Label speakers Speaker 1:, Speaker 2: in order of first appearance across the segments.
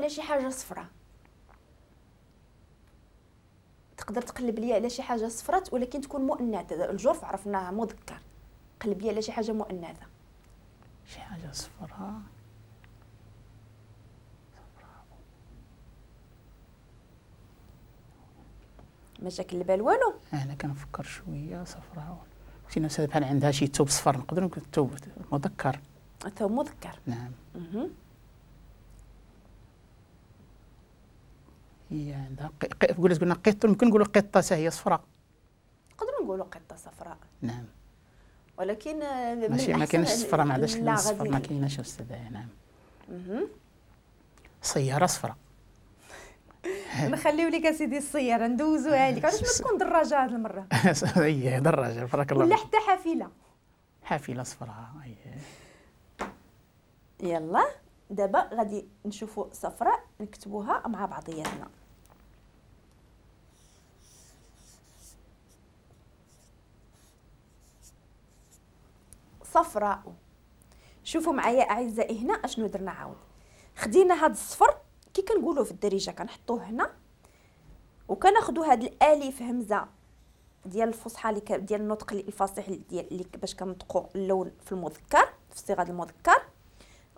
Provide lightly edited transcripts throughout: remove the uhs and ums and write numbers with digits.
Speaker 1: على شي حاجة صفراء. تقدر تقلب لي على شي حاجة صفرات ولكن تكون مؤنثة. الجرف عرفناها مذكر، قلب لي على شي حاجة مؤنثة.
Speaker 2: شي حاجة صفراء،
Speaker 1: ما جاك البال والو؟
Speaker 2: انا كنفكر شوية. صفراء شي ناس بحال عندها شي ثوب صفر، نقدر نقول ثوب مذكر.
Speaker 1: ثوب مذكر،
Speaker 2: نعم. هي عندها قلنا قطة، ممكن نقولوا قطة حتى هي صفراء.
Speaker 1: نقدروا نقولوا قطة صفراء،
Speaker 2: نعم،
Speaker 1: ولكن
Speaker 2: ماشي ما كاينش الصفراء، ما عندهاش الصفر، ما كايناش استاذه. نعم. سيارة صفراء.
Speaker 1: نخليو لك اسيدي السيارة ندوزوها لك. علاش ما تكون دراجة هذه المرة؟
Speaker 2: اييه دراجة، بارك الله.
Speaker 1: ولا حتى حافلة.
Speaker 2: حافلة صفراء، اييه.
Speaker 1: يلا دابا غادي نشوفوا صفراء نكتبوها مع بعضياتنا. صفراء. شوفوا معايا اعزائي هنا اشنو درنا. عاود خدينا هاد الصفر كي كنقولوا في الدارجة كنحطوه هنا، وكناخذوا هاد الالف همزه ديال الفصحى اللي ديال النطق الفصيح ديال اللي باش كنطقوا اللون في المذكر في صيغة المذكر،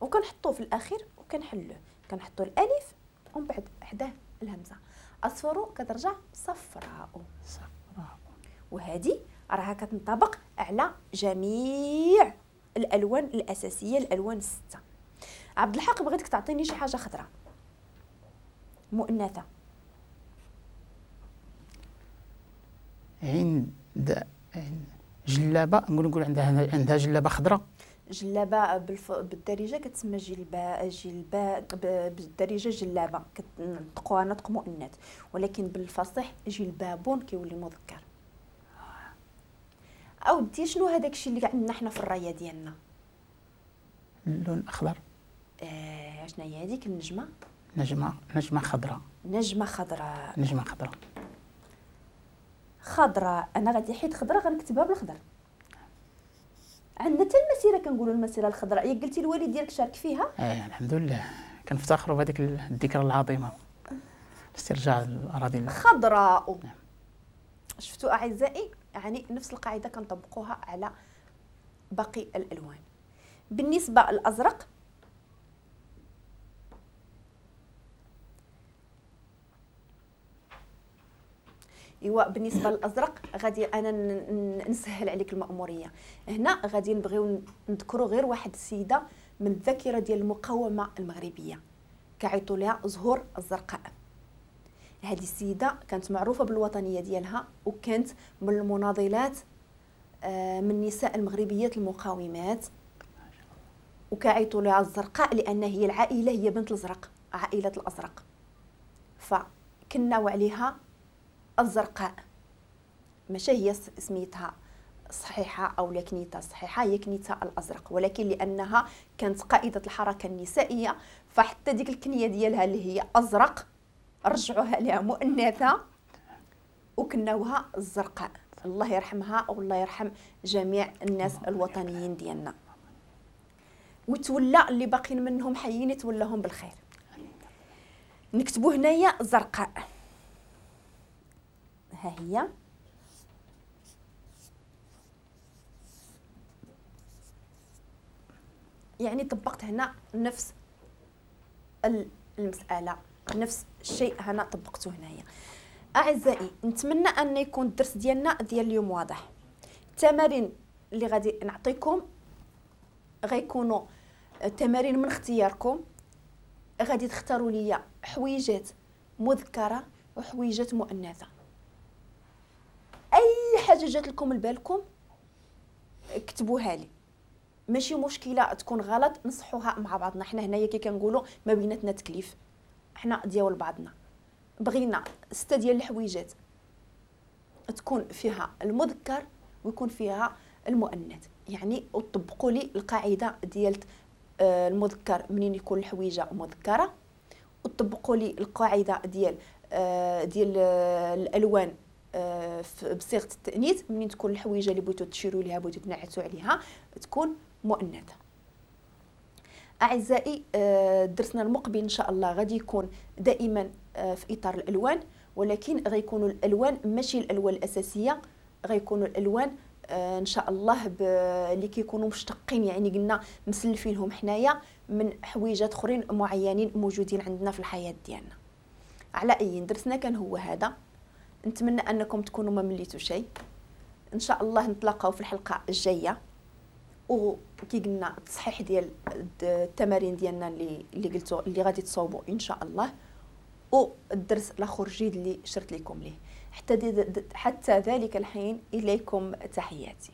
Speaker 1: وكنحطوه في الاخير وكنحلوه، كنحطوا الالف ومن بعد حداه الهمزة. اصفر كترجع صفراء.
Speaker 2: صفراء.
Speaker 1: وهذه راها كتنطبق على جميع الالوان الاساسية، الالوان الستة. عبد الحق بغيتك تعطيني شي حاجة خضراء مؤنثة.
Speaker 2: عند جلابه، نقول عندها جلابه خضراء.
Speaker 1: جلابه بالدارجة كتسمى جلبه، جلبه بالدارجة جلابه، كتنطقوها نطق مؤنث، ولكن بالفصيح جلباب كيولي مذكر. اودي شنو هذاك الشيء اللي عندنا حنا في الراية ديالنا؟
Speaker 2: اللون الاخضر.
Speaker 1: شنو هي هذيك النجمة؟
Speaker 2: نجمه، نجمه خضراء.
Speaker 1: نجمه خضراء.
Speaker 2: نجمه خضراء.
Speaker 1: خضراء. انا غادي حيت خضراء غنكتبها بالخضر. عندنا حتى المسيرة كنقولوا المسيرة الخضراء. ياك قلتي الوالد ديالك شارك فيها؟
Speaker 2: الحمد لله، كنفتخروا بهذيك الذكرى العظيمة، استرجاع الاراضي
Speaker 1: خضراء.
Speaker 2: نعم.
Speaker 1: شفتوا اعزائي، يعني نفس القاعدة كنطبقوها على باقي الالوان. بالنسبة للازرق، ايوا بالنسبة للازرق غادي انا نسهل عليك المأموريه. هنا غادي نبغيو نذكروا غير واحد السيدة من الذاكرة ديال المقاومة المغربية، كيعيطوا لها زهور الزرقاء. هذه السيدة كانت معروفة بالوطنيه ديالها، وكانت من المناضلات، من النساء المغربيات المقاومات، وكيعيطوا لها الزرقاء لان هي العائلة، هي بنت الازرق، عائلة الازرق، فكناو عليها الزرقاء. ماشي هي سميتها صحيحه او لا كنيتها صحيحه، هي كنيتها الازرق، ولكن لانها كانت قائده الحركة النسائية فحتى ديك الكنية ديالها اللي هي ازرق رجعوها لها مؤنثة وكناوها الزرقاء. الله يرحمها والله يرحم جميع الناس الوطنيين ديالنا، وتولى اللي باقين منهم حيين يتولاهم بالخير. نكتبوا هنايا زرقاء، ها هي. يعني طبقت هنا نفس المسألة، نفس الشيء هنا طبقته هنايا. أعزائي نتمنى أن يكون الدرس ديالنا ديال اليوم واضح. التمارين اللي غادي نعطيكم غيكونوا تمارين من اختياركم، غادي تختاروا لي حويجات مذكرة وحويجات مؤنثة. اي حاجة جات لكم لبالكم كتبوها لي، ماشي مشكلة تكون غلط، نصحوها مع بعضنا. حنا هنايا كي كنقولوا ما بيناتنا تكليف، حنا ديال بعضنا. بغينا 6 ديال الحويجات تكون فيها المذكر ويكون فيها المؤنث، يعني وطبقوا لي القاعدة ديال المذكر منين يكون الحويجه مذكره، وطبقوا لي القاعدة ديال ديال الالوان بصيغة التانيث منين تكون الحويجه اللي بغيتو تشيروا ليها بغيتو تنعتوا عليها تكون مؤنثة. اعزائي، درسنا المقبل ان شاء الله غادي يكون دائما في اطار الالوان، ولكن غيكونوا الالوان ماشي الالوان الاساسية، غيكونوا الالوان ان شاء الله اللي كيكونوا مشتقين، يعني قلنا مسلفينهم حنايا من حويجات اخرين معينين موجودين عندنا في الحياة ديالنا. على اي درسنا كان هو هذا، نتمنى انكم تكونوا ما مليتوا شيء. ان شاء الله نتلاقاو في الحلقة الجاية، وكي قلنا التصحيح ديال التمارين ديالنا اللي قلتو اللي غادي تصوبوا ان شاء الله، والدرس الاخر جديد اللي شرت لكم ليه. حتى ذلك الحين اليكم تحياتي.